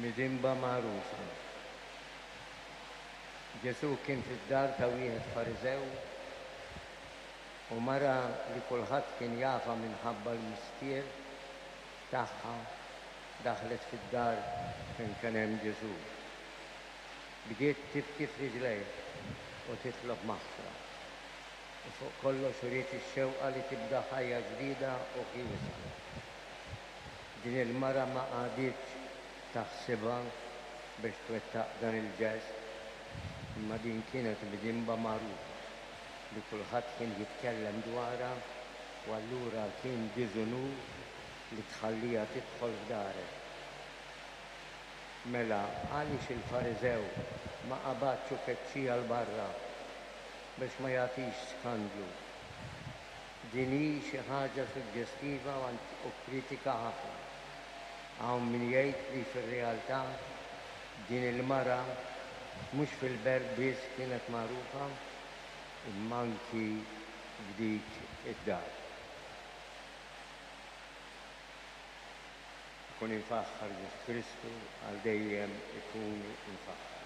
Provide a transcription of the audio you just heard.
Midinba magħrufa. Ġesù kien fid-dar ta' wieħed Fariżew u mara li kulħadd kien jafha minħabba l-mistier tagħha daħlet fid-dar fejn kien hemm Ġesù. Bdiet tibki f'riġlejh u titlob maħfra. U fuq kollox uriet ix-xewqa li tibda ħajja ġdida u ħielsa. Din il-mara ma qagħditx taħsibha biex twettaq dan il-ġest, imma din kienet midinba magħrufa li kulħadd kien jitkellem dwarha u allura kien diżunur li tħalliha tidħol f'darek. Mela għaliex il-Fariżew ma qabadx u keċċieha 'l barra biex ma jagħtix skandlu? Din hi xi ħaġa suġġestiva u kritika ħafna. Hawn min jgħid li fir-realtà din il-mara mhux fil-belt biss kienet magħrufa imma anki f'dik id-dar. Ikun imfaħħar Ġesù Kristu għal dejjem ikun imfaħħar.